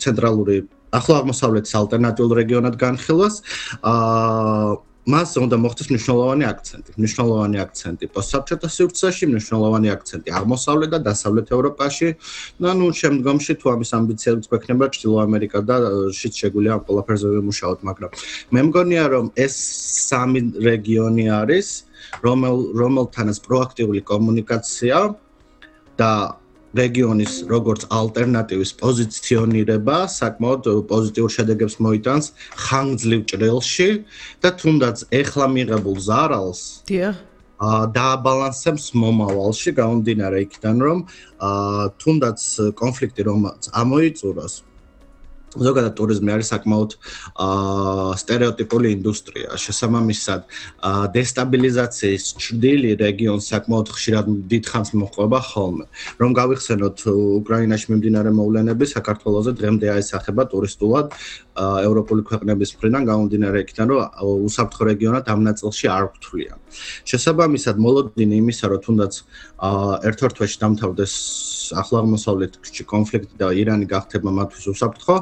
ცენტრალური ახლო აღმოსავლეთის ალტერნატიულ რეგიონად განხილვას. მას უნდა მოხდეს მნიშვნელოვანი აქცენტი პოსტსაბჭოთა სივრცეში, მნიშვნელოვანი აქცენტი აღმოსავლეთ და დასავლეთ ევროპაში. შემდგომში თუ ამის ამბიციებიც გვექნება ჩრდილო ამერიკა და შიც შეგვიძლია ამ ყველაფერზე ვიმუშაოთ, მაგრამ მე მგონია რომ ეს სამი რეგიონი არის, რომელთანაც პროაქტიული კომუნიკაცია და რეგიონის როგორც ალტერნატივის პოზიციონირება საკმაოდ პოზიტიურ შედეგებს მოიტანს ხანგრძლივ ჭრილში და თუნდაც ეხლა მიღებულ ზარალს დააბალანსებს მომავალში გამომდინარე იქიდან რომ თუნდაც კონფლიქტი რომელიც ამოიწუროს ზოგადად ტურიზმი არის საკმაოდ სტერეოტიპული ინდუსტრია. შესაბამისად, დესტაბილიზაციის ჭრილი რეგიონს საკმაოდ ხშირად დიდხანს მოჰყვება ხოლმე. რომ გავიხსენოთ უკრაინაში მიმდინარე მოვლენები საქართველოზე დღემდე აისახება ტურისტულად ევროპული ქვეყნების მხრიდან გამომდინარე იქიდან, რომ უსაფრთხო რეგიონად ამ ნაწილში არ გვთვლიან. შესაბამისად, მოლოდინი იმისა, რომ თუნდაც ერთ-ერთ თვეში დამთავრდეს ახლო აღმოსავლეთში კონფლიქტი და ირანი გახდება მათთვის უსაფრთხო,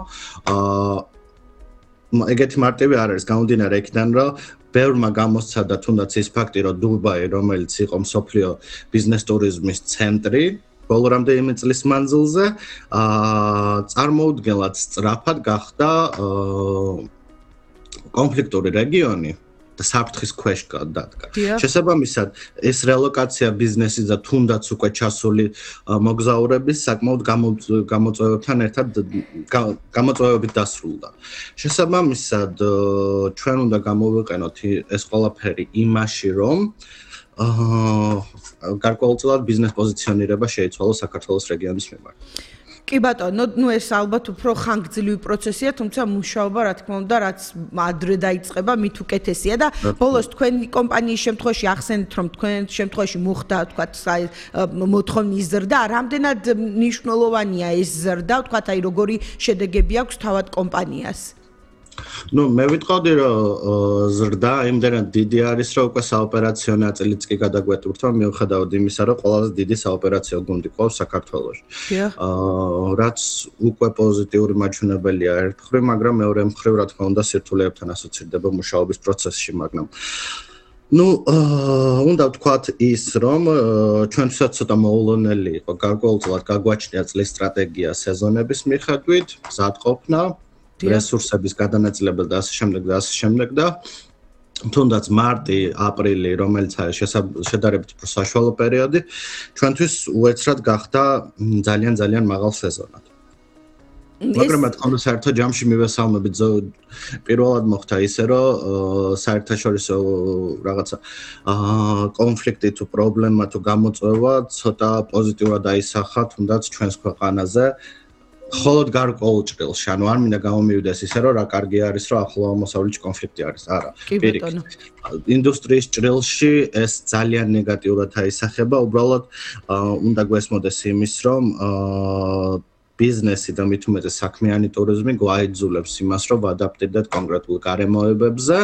ეგეთი მარტივი არ არის გამომდინარე იქიდან, რომ ბევრმა გამოსცადა თუნდაც ის ფაქტი, რომ დუბაი, რომელიც იყო მსოფლიო ბიზნეს ტურიზმის ცენტრი, ბოლო რამდენიმე წლის მანძილზე, წარმოუდგენლად სწრაფად გახდა კონფლიქტური რეგიონი და საფრთხის ქვეშ დადგა. შესაბამისად, ეს რელოკაცია ბიზნესის და თუნდაც უკვე ჩასული მოგზაურების საკმაოდ გამოწვევებთან ერთად გამოწვევებით დასრულდა. შესაბამისად, ჩვენ უნდა გამოვიყენოთ ეს ყველაფერი იმაში, რომ გარკვეულწილად ბიზნეს პოზიციონირება შეიცვალოს საქართველოს რეგიონის მიმართ. კი ბატონო, ეს ალბათ უფრო ხანგრძლივი პროცესია, თუმცა მუშაობა, რა თქმა უნდა, რაც ადრე დაიწყება, მით უკეთესია და ბოლოს თქვენი კომპანიის შემთხვევაში ახსენეთ, რომ თქვენ შემთხვევაში მოხდა, თქვათ, მოთხოვნის ზრდა, რამდენად მნიშვნელოვანია ეს ზრდა, თქვათ, როგორი შედეგები აქვს თავად კომპანიას? მე ვიტყოდი, რომ ზრდა იმდენად დიდი არის, რომ უკვე საოპერაციო ნაწილიც კი გადაგვეტვირთვა, მიუხედავად იმისა, რომ ყველაზე დიდი საოპერაციო გუნდი ყავს საქართველოში. რაც უკვე პოზიტიური მაჩვენებელია ერთ მხრივ, მაგრამ მეორე მხრივ, რა თქმა უნდა, სირთულეებთან ასოცირდება მუშაობის პროცესში, მაგრამ უნდა ვთქვათ ის, რომ ჩვენთვისაც ცოტა მოულოდნელი იყო გარკვეულწილად გაგვაჩნია წლის სტრატეგია სეზონების მიხედვით, მზადყოფნა რესურსების გადანაწილება და ასე შემდეგ და თუნდაც მარტი, აპრილი, რომელიც არის შედარებით უფრო საშუალო პერიოდი, ჩვენთვის უეცრად გახდა ძალიან მაღალ სეზონად. მაგრამ რა თქმა უნდა, საერთო ჯამში მივესალმებით, პირველად მოხდა ისე, რომ საერთაშორისო რაღაცა კონფლიქტი თუ პრობლემა თუ გამოწვევა ცოტა პოზიტიურად აისახა თუნდაც ჩვენს ქვეყანაზე. холод გარკვეულ ჭრილში, ანუ არ მინდა გამომივიდეს ისე, რომ რა კარგი არის, რომ ახლო აღმოსავლეთში კონფლიქტი არის. არა, პირიქით. ინდუსტრიის ჭრილში ეს ძალიან ნეგატიურად აისახება, უბრალოდ უნდა გვესმოდეს იმის, რომ ბიზნესი და მით უმეტეს საქმიანი ტურიზმი გვაიძულებს იმას, რომ ვადაპტირდეთ კონკრეტულ გარემოებებზე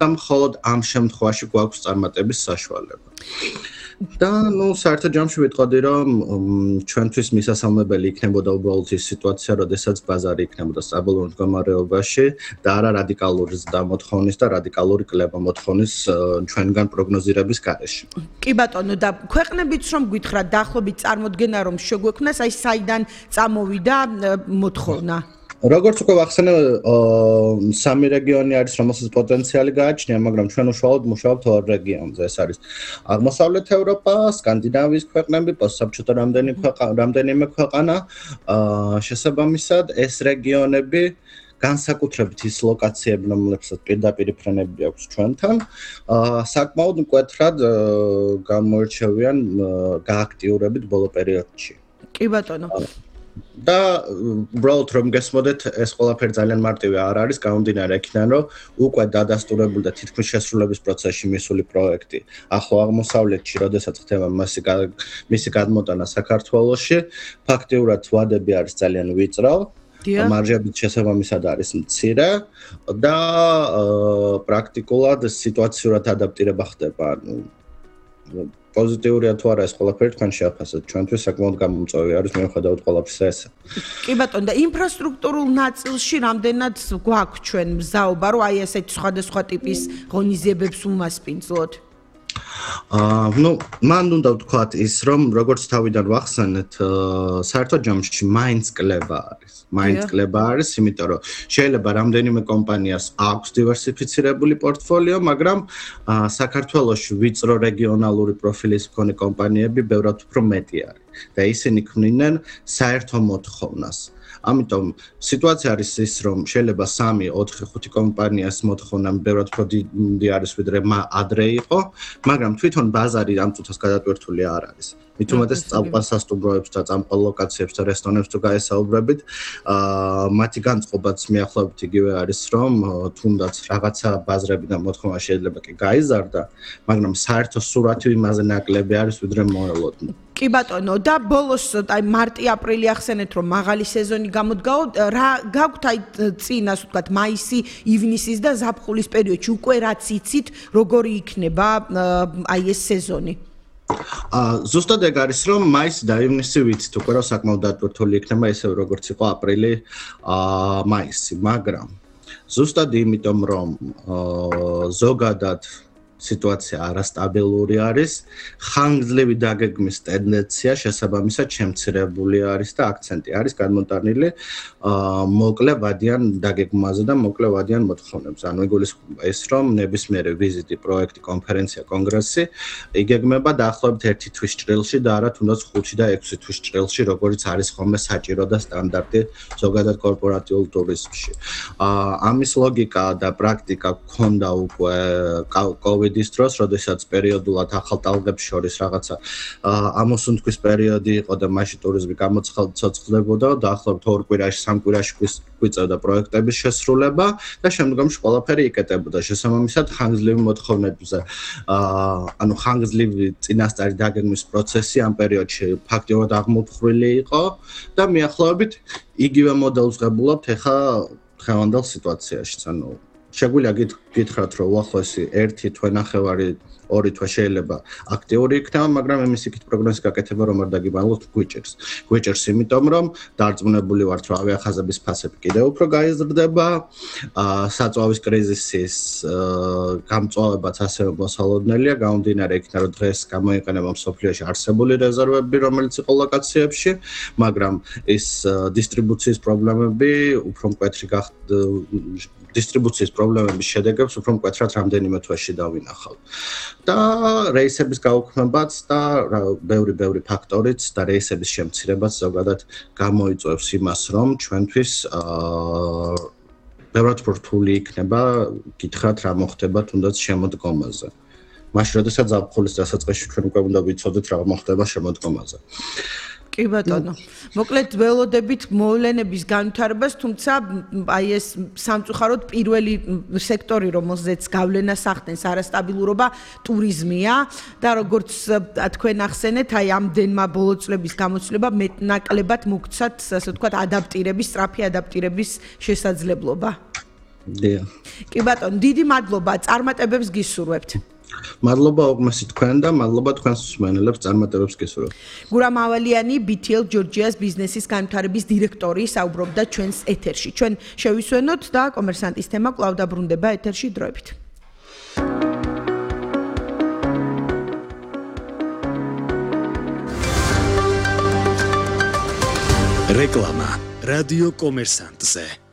და მხოლოდ ამ შემთხვევაში გვაქვს წარმატების საშუალება. და საერთო ჯამში ვიტყოდი, რომ ჩვენთვის მისასალმებელი იქნებოდა უბრალოდ ის სიტუაცია, როდესაც ბაზარი იქნებოდა სტაბილურ მდგომარეობაში და არა რადიკალური ზრდა მოთხოვნის და რადიკალური კლება მოთხოვნის ჩვენგან პროგნოზირების გარეშე. კი ბატონო, და ქვეყნებიც რომ გითხრათ დაახლოებით წარმოდგენა რომ შეგვექმნას, აი საიდან წამოვიდა მოთხოვნა? როგორც უკვე ვახსენე, სამი რეგიონი არის, რომელსაც პოტენციალი გააჩნია, მაგრამ ჩვენ უშუალოდ მუშაობთ ორ რეგიონზე. ეს არის აღმოსავლეთ ევროპა, სკანდინავიის ქვეყნები, პოსტსაბჭოთა რამდენიმე ქვეყანა. შესაბამისად, ეს რეგიონები განსაკუთრებით ის ლოკაციები, რომლებსაც პირდაპირ ფრენები აქვს ჩვენთან, საკმაოდ მკვეთრად გამოირჩევიან გააქტიურებით ბოლო პერიოდში. კი ბატონო. და უბრალოდ რომ გესმოდეთ, ეს ყველაფერი ძალიან მარტივი არ არის, გამომდინარე იქიდან, რომ უკვე დადასტურებული და თითქმის შესრულების პროცესში მისული პროექტი ახლო აღმოსავლეთში, როდესაც ხდება მისი გადმოტანა საქართველოში, ფაქტიურად ვადები არის ძალიან ვიწრო. მარჟებიც შესაბამისად არის მცირე და პრაქტიკულად სიტუაციურად ადაპტირება ხდება. პოზიტიურია თუ არა ეს ყველაფერი თქვენ შეაფასეთ. ჩვენთვის საკმაოდ გამომწვევი არის მიუხედავად ყველაფრისა ესა. კი ბატონო, და ინფრასტრუქტურულ ნაწილში რამდენად გვაქვს ჩვენ მზაობა, რომ აი ესეთ სხვადასხვა ტიპის ღონისძიებებს უმასპინძლოთ? მან უნდა ვთქვათ ის, რომ როგორც თავიდან ვახსენეთ, საერთო ჯამში მაინც კლება არის, იმიტომ რომ შეიძლება რამდენიმე კომპანიას აქვს დივერსიფიცირებული პორტფოლიო, მაგრამ საქართველოში ვიწრო რეგიონალური პროფილის მქონე კომპანიები ბევრად უფრო მეტი არის და ისინი ქმნიდნენ საერთო მოთხოვნას. ამიტომ სიტუაცია არის ის, რომ შეიძლება 3, 4, 5 კომპანიას მოთხოვნა ბევრად უფრო დიდი არის, ვიდრე ადრე იყო, მაგრამ თვითონ ბაზარი ამ წუთას გადატვირთული არ არის. მით უმეტეს წამყვან სასტუმროებს და წამყვან ლოკაციებს და რესტორნებს თუ გაესაუბრებით, მათი განწყობაც მიახლოებით იგივე არის, რომ თუნდაც რაღაცა ბაზრები და მოთხოვნა შეიძლება კი გაიზარდა, მაგრამ საერთო სურათი იმაზე ნაკლები არის, ვიდრე მოელოდნო. კი ბატონო, და ბოლოს აი მარტი-აპრილი ახსენეთ, რომ მაღალი სეზონი გამოდგაო, რა გაქვთ აი წინ, ასე ვთქვათ, მაისი, ივნისის და ზაფხულის პერიოდში უკვე რაც იცით, როგორი იქნება აი ეს სეზონი? ზუსტად ეგ არის, რომ მაისი და ივნისი ვიცით უკვე, რომ საკმაოდ დატვირთული იქნება ისევ როგორც იყო აპრილი, მაისი, მაგრამ ზუსტად იმიტომ, რომ ზოგადად სიტუაცია არასტაბილური არის, ხანგრძლივი დაგეგმის ტენდენცია შესაბამისად შემცირებული არის და აქცენტი არის განმოტანილი მოკლე ვადიან დაგეგმაზე და მოკლე ვადიან მოთხოვნებზე. ანუ იგულისხმება ის, რომ ნებისმიერი ვიზიტი, პროექტი, კონფერენცია, კონგრესი იგეგმება დაახლოებით 1 თვის ჭრილში და არა თუნდაც 5 და 6 თვის ჭრილში, როგორც არის ხოლმე საჭირო და სტანდარტი ზოგადად კორპორატიულ ტურიზმში. ამის ლოგიკა და პრაქტიკა გქონდა უკვე COVID-ის დროს, როდესაც პერიოდულად ახალ ტალღებს შორის რაღაცა ამოსუნთქვის პერიოდი იყო და მაშინ ტურიზმი გამოცოცხლებოდა და დაახლოებით 2 კვირაში, 3 კვირაში გვიწევდა პროექტების შესრულება და შემდგომში ყველაფერი იკეტებოდა. შესაბამისად, ხანგრძლივი მოთხოვნებზე, ანუ ხანგრძლივი წინასწარი დაგეგმის პროცესი ამ პერიოდში ფაქტიურად აღმოფხრილი იყო და მიახლოებით იგივე მოდელს ვღებულობთ ახლა დღევანდელ სიტუაციაში. ანუ შეგვიძლია გითხრათ, რომ უახლოესი 1 თვე-ნახევარი 2 თვე შეიძლება აქტიური იქნება, მაგრამ იმის იქით პროგნოზის გაკეთება რომ არ დაგიბალოთ გვიჭერს. გვიჭერს იმიტომ, რომ დარწმუნებული ვართ, რომ ავიახაზების ფასები კიდევ უფრო გაიზრდება, საწვავის კრიზისის გამწვავებაც ასევე მოსალოდნელია, გამომდინარე იქიდან, რომ დღეს გამოიყენება მსოფლიოში არსებული რეზერვები, რომელიც იყო ლოკაციებში, მაგრამ ის დისტრიბუციის პრობლემები უფრო მკვეთრი დისტრიბუციის პრობლემების შედეგებს უფრო მკვეთრად რამდენიმე თვეში დავინახავთ. და რეისების გაუქმებაც და ბევრი ფაქტორიც და რეისების შემცირებაც ზოგადად გამოიწვევს იმას, რომ ჩვენთვის ბევრად რთული იქნება გითხრათ რა მოხდება თუნდაც შემოდგომაზე. მაშინ როდესაც ზაფხულის დასაწყისში ჩვენ უკვე უნდა ვიცოდეთ რა მოხდება შემოდგომაზე. კი ბატონო. მოკლედ ველოდებით მოვლენების განვითარებას, თუმცა აი ეს სამწუხაროდ პირველი სექტორი, რომელზეც გავლენას ახდენს არასტაბილურობა, ტურიზმია და როგორც თქვენ ახსენეთ, აი ამდენმა ბოლო წლების გამოცდილება მეტნაკლებად მოგცათ, ასე ვთქვათ, ადაპტირების, სწრაფი ადაპტირების შესაძლებლობა. დიახ. კი ბატონო, დიდი მადლობა, წარმატებებს გისურვებთ. მადლობა უგმესი თქვენ და მადლობა თქვენს მსმენელებს წარმატებებს გისურვებთ. გურამ ავალიანი BTL Georgia's ბიზნესის განვითარების დირექტორი საუბრობდა ჩვენს ეთერში. ჩვენ შევისვენოთ და კომერსანტის თემა კვლავ დაბრუნდება ეთერში დროებით. რეკლამა რადიო კომერსანტზე.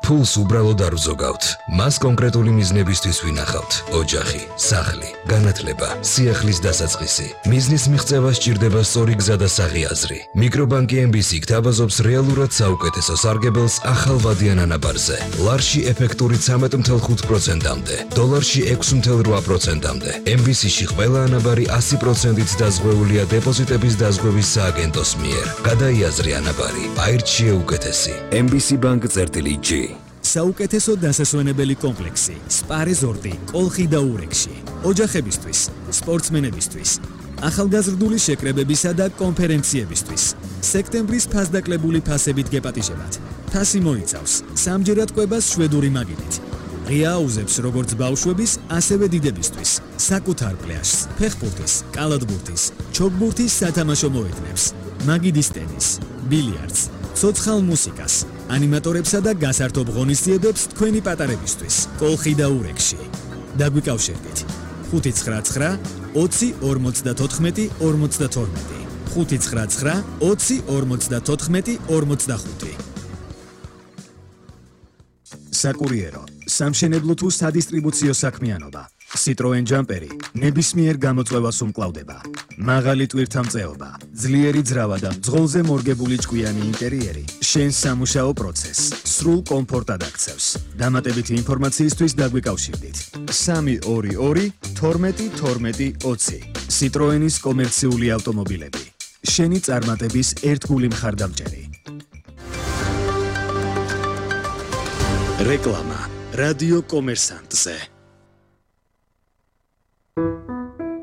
ფულს უბრალოდ არ ვზოგავთ. მას კონკრეტული მიზნებისთვის ვინახავთ. ოჯახი, სახლი, განათლება, სიახლის დასაწყისი. მიზნის მიღწევა სჭირდება სწორი გზა და საღიაზრი. მიკრობანკი MBC გთავაზობს რეალურად საუკეთესო სარგებელს ახალ ვადიან ანაბარზე. ლარში ეფექტური 13.5%-მდე, დოლარში 6.8%-მდე. MBC-ში ყველა ანაბარი 100%-ით დაზღვეულია დეპოზიტების დაზღვევის სააგენტოს მიერ. გადაიაზრი ანაბარი, აირჩიე უკეთესი. MBC Bank-G. საუკეთესო დასასვენებელი კომპლექსი, სპა რეზორტი, კოლხი და ურეკში. ოჯახებისთვის, სპორტსმენებისთვის, ახალგაზრდული შეკრებებისა და კონფერენციებისთვის. სექტემბრის ფასდაკლებული ფასებით გეპატიჟებათ. ფასი მოიცავს 3ჯერად კვებას შვედური მაგიდით. ღია აუზებს როგორც ბავშვების, ასევე დიდებისთვის, საკუთარ პლაჟს, ფეხბურთის, კალათბურთის, ჩოგბურთის სათამაშო მოედნებს, მაგიდის ტენის, ბილიარდს, ცოცხალ მუსიკას, ანიმატორებსა და გასართობ ღონისძიებებს თქვენი პატარებისთვის, კოლხი და ურეკში. დაგვიკავშირდით 599 20 54 52 599 20 54 45. საკურიერო, სამშენებლო თუ სადისტრიბუციო საქმიანობა. Citroen Jumperi ნებისმიერ გამოწვევას უმკლავდება. მაღალი ტვირთამწეობა, ძლიერი ძრავა და მძღოლზე მორგებული ჭკვიანი ინტერიერი შენს სამუშაო პროცესს სრულ კომფორტად აქცევს. დამატებითი ინფორმაციისთვის დაგვიკავშირდით 322 12 12 20. Citroenis კომერციული ავტომობილები. შენი წარმატების ერთგული მხარდამჭერი. რეკლამა რადიო კომერსანტზე.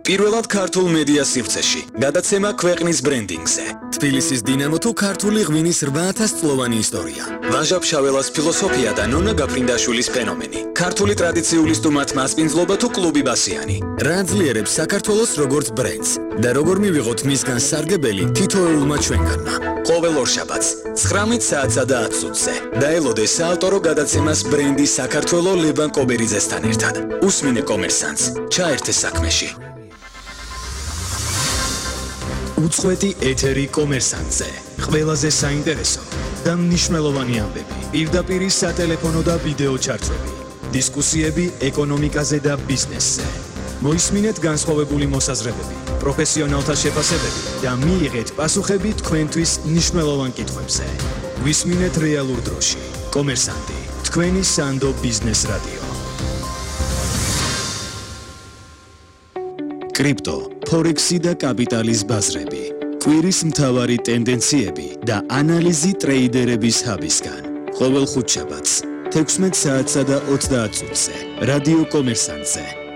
პირველად ქართულ მედია სივრცეში გადაცემა ქვეყნის ბრენდინგზე. თბილისის დინამო თუ ქართული ღვინის 8000 წლოვანი ისტორია. ვაჟა ფშაველას ფილოსოფია და ნონა გაფრინდაშვილის ფენომენი. ქართული ტრადიციული სტუმართ მასპინძლობა თუ კლუბი ბასიანი. რა ძლიერებს საქართველოს როგორც ბრენდს და როგორ მივიღოთ მისგან სარგებელი თითოეულმა ჩვენგანმა. ყოველ ორშაბათს 19 საათსა და 10 წუთზე. დაელოდე საავტორო გადაცემას ბრენდი საქართველო ლებან კობერიძესთან ერთად. უსმინე კომერსანტს, ჩაერთე საქმეში. უწყვეტი ეთერი კომერსანტზე. ყველაზე საინტერესო და მნიშვნელოვანი ამბები. პირდაპირ სატელეფონო და ვიდეო ჩარტვები. დისკუსიები ეკონომიკაზე და ბიზნესზე. მოისმინეთ განსხვავებული მოსაზრებები, პროფესიონალთა შეფასებები და მიიღეთ პასუხები თქვენთვის მნიშვნელოვან კითხვებზე. ვისმინეთ რეალურ დროში. კომერსანტი, თქვენი სანდო ბიზნეს რადიო. კრიპტო, ფორექსი და კაპიტალის ბაზრები. კვირის მთავარი ტენდენციები და ანალიზი ტრეიდერების ჰაბისგან. ყოველ ხუთშაბათს 16 საათსა და 30 წუთზე. რადიო კომერსანტზე.